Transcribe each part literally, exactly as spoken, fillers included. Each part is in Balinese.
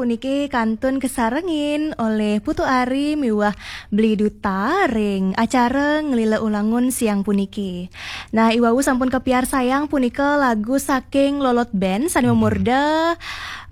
puniki kantun kasarengin olih Putu Ari miwah Beli Duta ring acara Nglila Ulangun siang puniki. Nah, iwau sampun kapiarsayang punika lagu saking Lolot Band sane mamurda,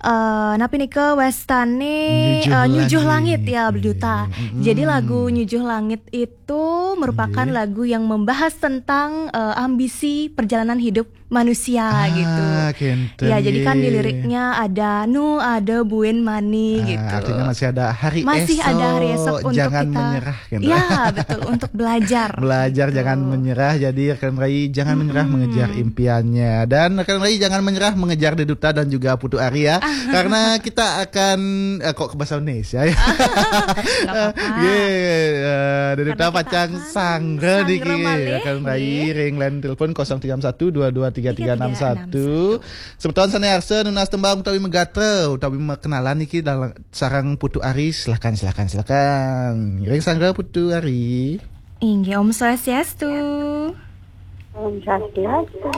eh, napi nika wastane, Nyujuh eh, Nyujuh Langit. Langit, ya, Beli Duta. Mm-mm. Jadi lagu Nyujuh Langit itu merupakan, nggih, lagu yang membahas tentang, eh, ambisi perjalanan hidup manusia, ah, gitu. Kenten, ya, jadi kan di, nggih, liriknya ada nu, ada buin mani, ah, gitu. Artinya masih ada hari, masih ada hari esok, esok untuk jangan kita menyerah, gitu. Ya, betul, untuk belajar. Belajar, gitu, jangan menyerah. Jadi rekan Rai, jangan menyerah, mm-mm, mengejar impiannya. Dan rekan Rai, jangan menyerah mengejar Deduta dan juga Putu Ari, ya. Karena kita akan, eh, kok ke bahasa Indonesia, ya? Nggak apa-apa. Ye, eh, Deduta karena kita pacang akan sanggra, sanggra niki, malih, rekan Rai, nggih, ring line telepon kosong tiga enam satu dua dua tiga tiga enam satu. Semeton sane arsa nunas tembang utawi magatra utawi makenalan niki dal-, sareng Putu Ari, silakan, silakan, silakan. Ring sanggra Putu Ari. Inggih, Om Swastiastu. Om Swastiastu.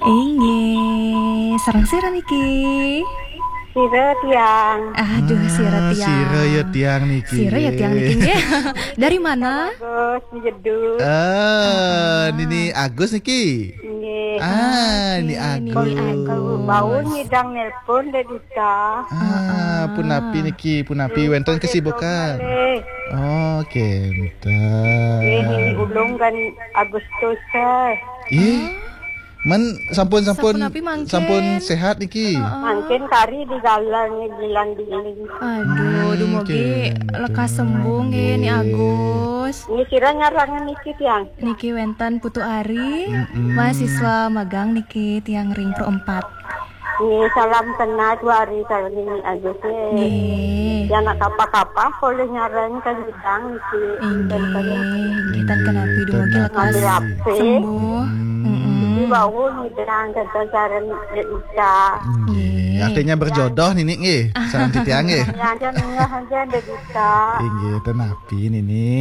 Inggih, sareng sira niki? Sira tiang. Aduh, sira, ah, tiang. Sira ya tiang niki. Sira ya tiang niki, nggih. Dari mana? Agus, Jedus. Ah, ah, Nini Agus niki. Nggih. Ah, oke, Ni Ni Agus. Agus. Bau ngidang nelpon, Dek Duta. Ah, ah, punapi niki, punapi, wenten kesibukan? Malih. Oh, kenten. Nggih, Nini Ulung kan Agustus, eh. Ih, men sampun, sampun, sampun napi mangkin? Sampun sehat niki? Heeh. Mangkin kari digalang, dilang-diling. Aduh, hmm, dumugi, oke, lekas sembuh nggih, Ni Agus. Nggih, sira nyarengan niki, tiang? Niki wenten Putu Ari, mm-mm, mahasiswa magang niki tiang ring Pro empat. Nggih, salam kenal, Putu Ari, salam Nini Agus, nggih. Nggih. Yan nak kapah-kapah polih nyarengin ka ngidang niki. Inggih, inggih, tan kenapi, dumugi lekas sembuh. Ngambil H P. Mm-mm. Niki wau ngidang kenten sareng Dek Duta. Nggih. Nggih. Artinya berjodoh nini nggih, sareng titiang nggih. Nggih, aja nengah aja Dek Duta. Inggih, ten napi nini?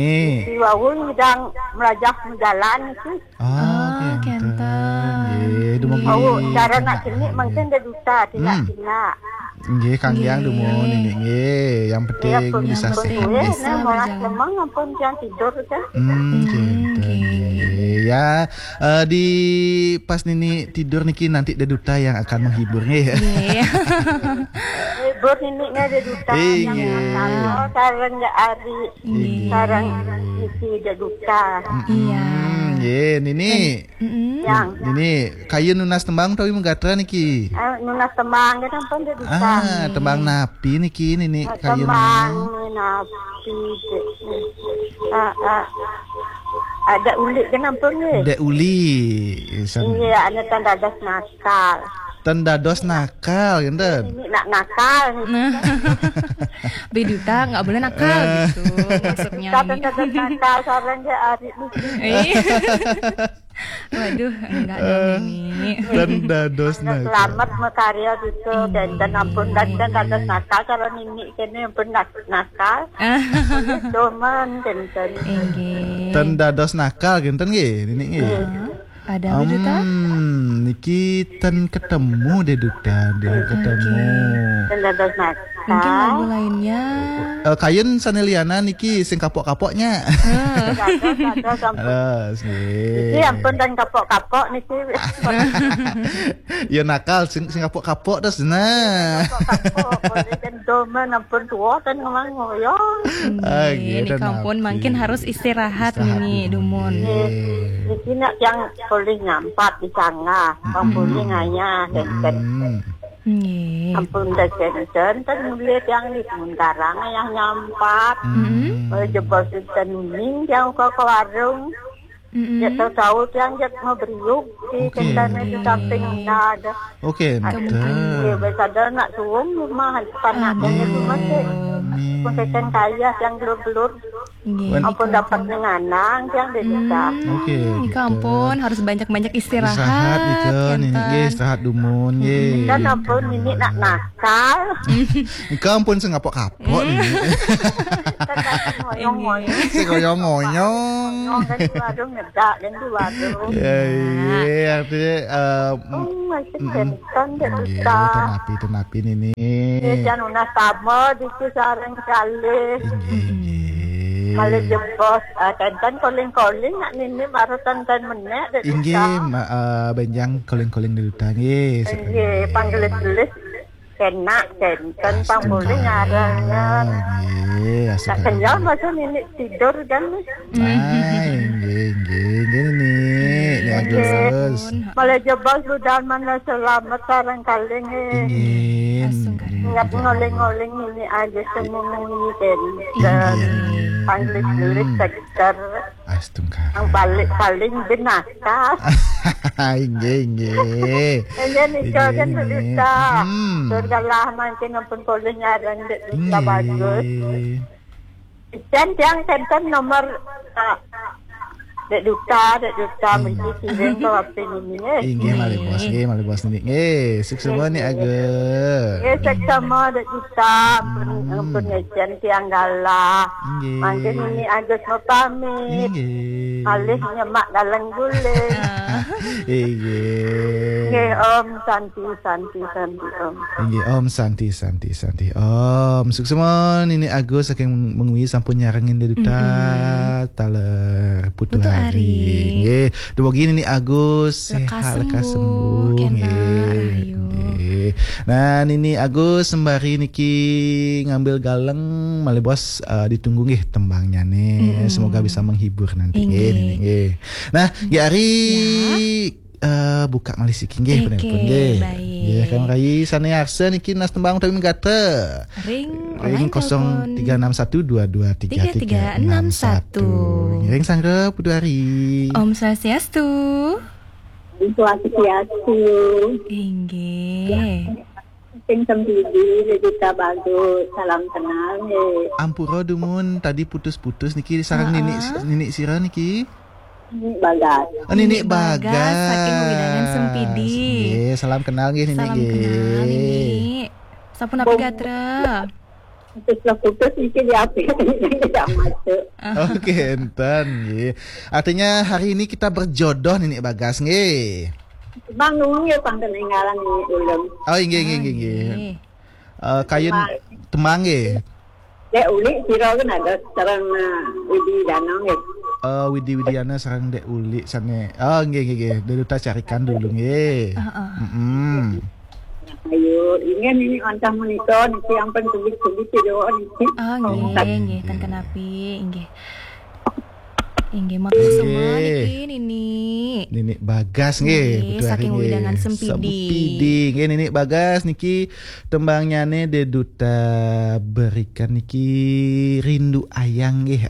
Niki wau ngidang melajah majalan niki. Ah, oh, kenten. Kenten. Nggih, dumugi. Nggih. Oh, cara nak cenik mungkin Dek Duta, tidak, hmm, tidak. Nggih, kanggiang dumun nini nggih. Yang penting bisa sehat nggih. Nggih, bisa berjalan. Nah, molas lemeng ampun tiang tidur kan. Hmm, hmm, kenten, nggih. Nggih. Ya, eh, di pas nini tidur niki nanti Dek Duta yang akan menghibur nggih. Nggih. Hibur nini nggih Dek Duta. Inggih. Yang akan, oh, sareng Dek Ari. Nggih. Sareng niki Dek Duta. Mm-mm. Iya. Nggih, nini. Mm-mm. Yang. Nini, kayun nunas tembang utawi magatra niki? Eh, nunas tembang, nggih, sampun, Dek Duta. Ah, tembang napi niki, nini, eh, kayun? Tembang napi, Dek? Ah, ah. Ada ulik, nggih, sampun, nggih. Dek Uli, san- Iya, ane tan dados nakal. Ten dados nakal, ngenten? Ini nak nakal. Nah. Beli Duta nggak boleh nakal, eh, gitu, maksudnya. Ten dados nakal, sareng Dek Ari. Iya. Waduh, enggak dong ini. Ten dados nakal. Selamat makarya gitu, dan, dan ampun, dan, dan dados nakal, kalau nini kene ampun nak-, nakal. Doman, kenten. Inggih. Ten dados nakal, kenten nggih, nini nggih. Iya. Ada apa, Duta? Hmm, niki ten ketemu deh, Duta, deh, ketemu. Oke. Ten dados nakal. Mungkin lagu lainnya. Eh, kayun sane lianan niki sing kapok-kapoknya. Eh. Dados, dados, ampun. Dados, nggih. Niki ampun ten kapok-kapok niki. Ya nakal, sing, sing kapok-kapok terus, nah. Kapok-kapok, boleh kan doman, ampun tua kan ngomong, ya. Ah, nggih, nggih, nika ampun, napi? Mungkin harus istirahat. Istirahat nini, dumun. Nggih. Nggih. Niki nak yang boleh nyampat di sana, hmm, boleh ngayah, kenten. Hmm. Nggih. Ampun, dah kenten, kan mulai tiang di sementara ngayah nyampat. Hmm. Boleh jebos kenten uning, tiang ke, ke warung. Mm-mm. Ya, tahu-tahu tiang jak mau beriuk di, oke, kentane di samping, nggih, ada. Oke, ada mungkin. Nggih, biasa ada nak suwung rumah, panas, aduh, banget rumah, Cek. Nggih. Pun keten kaya yang gelur-gelur. Nggih. Ampun dapat ngenanang yang desa. Hmm, Oke, nika gitu. Ampun, harus banyak-banyak istirahat. Istirahat gitu nih. Enten. Nggih, istirahat dumun nggih. Dan ampun ini nak nakal. Nika ampun sing kapok-kapok niki. Ngoyong-ngoyong. Sing ngoyong-ngoyong. Ngomong kan di warung ngedak kan di warung. Ya, iya, artinya eh, Oh, masih kenten dek nggih, kita. Tenapi, tenapi nini. Ini jangan sama di sarang kali. Inggih, inggih. Kali jebos, ah, kenten koling-koling nak nini baru kenten menek dek Inggih, kita. ma- eh, benjang koling-koling di duta nggih. Iya, panggelis-gelis. Kena, kenten, pang boleh ngarangnya. Nggih, Tak astagfirullah. kenyal masa nini tidur kan. Nah, inggih, inggih, inggih nini. Ini Agus. Malah jebos budal mana selamat sarang kali ni. Inggih. Astungkara. Ingat ngoling-ngoling ini aja semua ini kenten. Panggelis-gelis sekitar. Astungkara. Yang paling paling binatang. Inggih, inggih. Ini nih kan Inggih. berita. Hmm. Surga lah mancing ampun boleh nyarang dek berita bagus. Inggih. Dan yang kenten nomor ah, dek duta, dek duta mesti kirim ke apa ini eh. Inggih, malih bos, nggih, malih bos nggih. Nggih, suksma nih Agus. Ya seksama dek duta ampun ampun ngecen tiang galah. Inggih. Mangkin ini Agus mau pamit. Inggih. Alih nyemak dalam guling. Inggih. Nggih Om Santi Santi Santi Om. Inggih Om Santi Santi Santi Om. Suksma nini Agus saking mengwi sampun nyarengin di duta taler Putu Putu Hari. Hari. Nggih. Dumogi nini Agus Lekas sehat lekas sembuh, sembuh kena nggih. rahayu. Nggih. Nah, nini Agus sembari niki ngambil galeng malih bos eh, ditunggu nggih tembangnya nih. Semoga bisa menghibur nanti nggih Inggih. nini nggih. Nah, nggih Ari eh, buka malih siki nggih Oke, penelpon nggih. baik. Nggih, Kang Rai sane arsa niki nas tembang utawi megatra. Ring Ring line telepon. kosong tiga enam satu dua dua tiga tiga enam satu. Ring sanggra Putu Hari. Om Swastiastu. Swastiastu. Inggih. Sing sempidi kita bagus. Salam kenal nih. Ampura dumun tadi putus-putus niki sareng nini nini sira niki. Ini bagas. Oh, nini Bagas Bagas saking Wewidangan Sempidi. Nggih, salam kenal nggih nini Salam nggih. Kenal nini. Sampun apa gatra? Putus lah putus iki di apa? Tidak masuk. Oke, enten nggih. Artinya hari ini kita berjodoh nini Bagas nggih. Bang nunggu ya pang ketinggalan ini ulun. Oh, inggih inggih inggih. Nggih. Nggih. Eh, kayun temang nggih. Dek uli sira kan ada sareng uh, Widi Danang ya. Eh, Widi Widiana sareng Dek Uli sane. Oh, nggih nggih nggih. Dulu tak carikan dulu nggih. Heeh. Mm-mm. Ayo, ingin ini antah menika niki ampun tubis-tubis ya doa niki. Ah, nggih, nggih, tan kenapi, nggih. Inggih, matur semua Nggih. niki nini. Nini Bagas nggih, Nggih, Putu Hari saking nggih. Wewidangan Sempidi. Sempidi nggih nini Bagas niki tembangnane De Duta berikan niki rindu ayang nggih.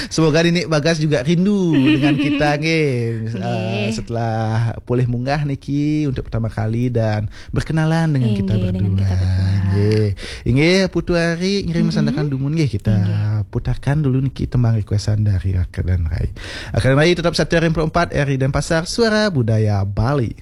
Semoga nini Bagas juga rindu dengan kita nggih. Eh, setelah pulih munggah niki untuk pertama kali dan berkenalan dengan kita Inggih, berdua. dengan kita berdua. Nggih. Inggih Putu Hari ngirim sandakan dumun nggih kita putarkan dulu niki tembang requestan dari Raka dan Rai. Raka dan Rai tetap setia Ring empat R I Denpasar Suara Budaya Bali.